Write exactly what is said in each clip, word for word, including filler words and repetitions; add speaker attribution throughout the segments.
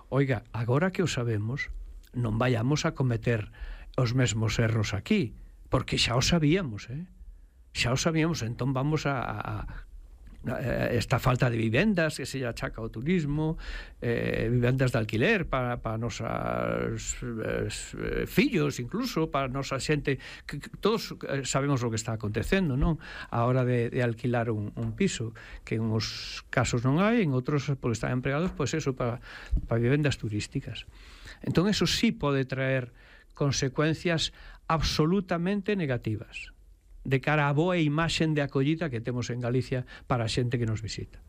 Speaker 1: Oiga, agora que o sabemos, non vayamos a cometer os mesmos erros aquí, porque xa o sabíamos, eh? Xa o sabíamos, entón vamos a, a esta falta de vivendas que se achaca ao turismo, eh, vivendas de alquiler para, para nosos eh, fillos, incluso para nosa xente, que, que todos sabemos o que está acontecendo, non? A hora de, de alquilar un, un piso, que en uns casos non hai, en outros porque están empregados, pois pues eso, para, para vivendas turísticas. Entón eso sí pode traer consecuencias absolutamente negativas de cara á boa imaxen de acollida que temos en Galicia para a xente que nos visita.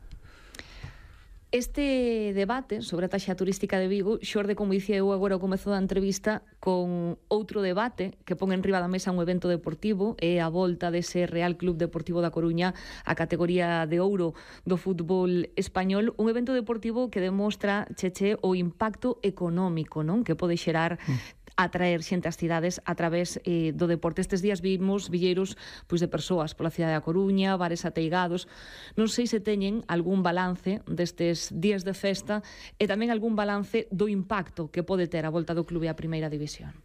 Speaker 2: Este debate sobre a taxa turística de Vigo xorde, como dicía eu agora ao comezo da entrevista, con outro debate que pon en riba da mesa un evento deportivo, é a volta dese Real Club Deportivo da Coruña a categoría de ouro do fútbol español, un evento deportivo que demostra, Cheche, o impacto económico, non, que pode xerar mm. atraer xente ás cidades a través eh, do deporte. Estes días vimos villeiros pois, de persoas pola cidade da Coruña, bares ateigados. Non sei se teñen algún balance destes días de festa e tamén algún balance do impacto que pode ter a volta do clube á primeira división.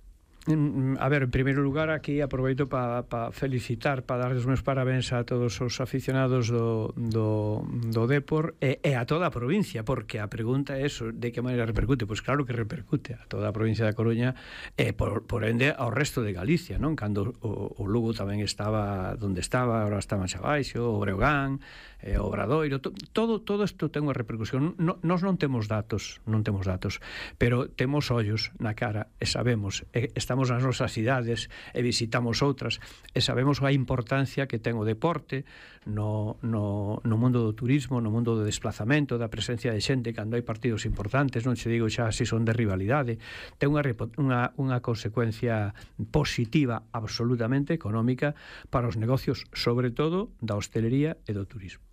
Speaker 1: A ver, en primeiro lugar, aquí aproveito para pa felicitar, para dar os meus parabéns a todos os aficionados do, do, do Depor e, e a toda a provincia, porque a pregunta é eso, de que maneira repercute? Pois claro que repercute a toda a provincia da Coruña e por, por ende ao resto de Galicia, non? Cando o, o Lugo tamén estaba onde estaba, agora está máis abaixo, o Breogán, eh, o Obradoiro, to, todo, todo isto ten unha repercusión. No, nós non temos datos, non temos datos, pero temos ollos na cara e sabemos, e estamos nas nosas cidades e visitamos outras e sabemos a importancia que ten o deporte no, no, no mundo do turismo, no mundo do desplazamento, da presencia de xente cando hai partidos importantes, non se digo xa se son de rivalidade, ten unha, unha, unha consecuencia positiva absolutamente económica para os negocios, sobre todo da hostelería e do turismo.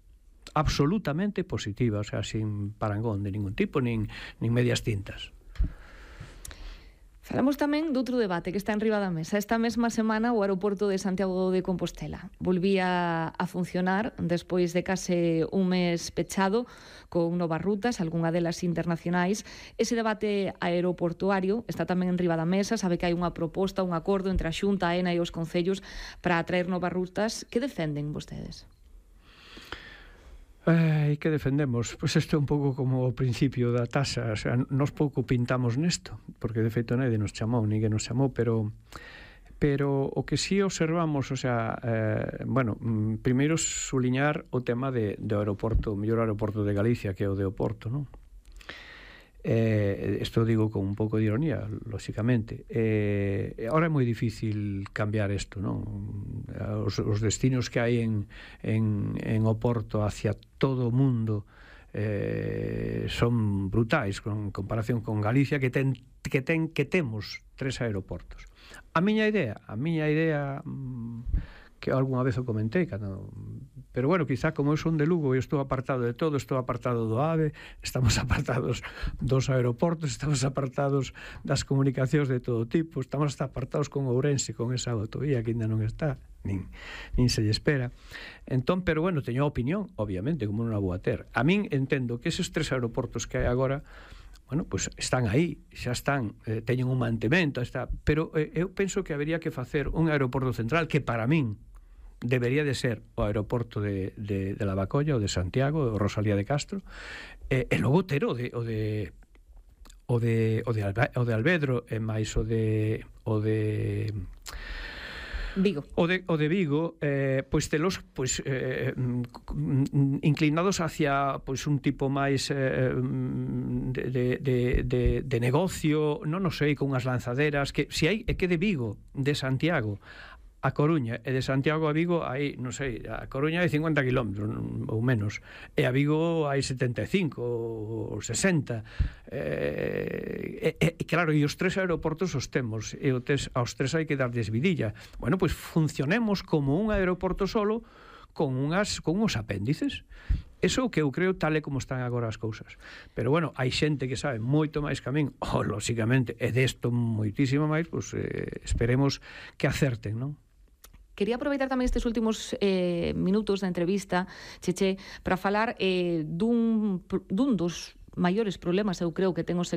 Speaker 1: Absolutamente positiva, o sea, sin parangón de ningún tipo, nin, nin medias tintas.
Speaker 2: Falamos tamén doutro debate que está en riba da mesa. Esta mesma semana o aeroporto de Santiago de Compostela volvía a funcionar despois de case un mes pechado con novas rutas, algunha delas internacionais. Ese debate aeroportuario está tamén en riba da mesa. Sabe que hai unha proposta, un acordo entre a Xunta, a ENA e os concellos para atraer novas rutas. Que defenden vostedes?
Speaker 1: E que defendemos? Pois isto é un pouco como o principio da taxa, o sea, nos pouco pintamos nesto, porque de feito nadie nos chamou, ninguén nos chamou, pero pero o que sí observamos, o sea, eh, bueno, primeiro suliñar o tema de, do aeroporto, o mellor aeroporto de Galicia, que é o de Oporto, non? Eh, isto digo con un pouco de ironía, lóxicamente. Eh, ahora é moi difícil cambiar isto, non? Os, os destinos que hai en, en, en Oporto hacia todo o mundo eh, son brutais con comparación con Galicia, que ten que ten que temos tres aeroportos. A miña idea, a miña idea que algunha vez o comentei, cando, pero bueno, quizá como eu son de Lugo e estou apartado de todo, estou apartado do AVE, estamos apartados dos aeroportos, estamos apartados das comunicacións de todo tipo, estamos hasta apartados con Ourense, con esa autovía que ainda non está, nin, nin se lle espera. Entón, pero bueno, teño a opinión, obviamente, como non a vou a ter. A min entendo que eses tres aeroportos que hai agora, bueno, pois pues están aí, xa están, eh, teñen un mantemento, está, pero eh, eu penso que habería que facer un aeroporto central que para min debería de ser o aeroporto de, de, de Lavacolla, o de Santiago, o Rosalía de Castro, e, e logo ter o de o de o de o de, Alba, o de Albedro e máis o de o de
Speaker 2: Vigo.
Speaker 1: O de, o de Vigo, eh, pois telos pois, eh, inclinados hacia pois un tipo máis eh, de, de, de, de, de negocio, non o sei, con unhas lanzaderas, que se hai, é que de Vigo, de Santiago a Coruña e de Santiago a Vigo hai, non sei, a Coruña hai cincuenta kilómetros ou menos, e a Vigo hai setenta e cinco ou sesenta, e, e, e claro, e os tres aeroportos os temos, e os tres, aos tres hai que darles vidilla. Bueno, pois funcionemos como un aeroporto solo con unhas con uns apéndices. Eso é o que eu creo, tal e como están agora as cousas. Pero bueno, hai xente que sabe moito máis que a min, oh, lóxicamente, e desto moitísimo máis, pois eh, esperemos que acerten, non?
Speaker 2: Quería aproveitar tamén estes últimos eh, minutos da entrevista, Cheche, para falar eh, dun, dun dos maiores problemas, eu creo, que ten o sector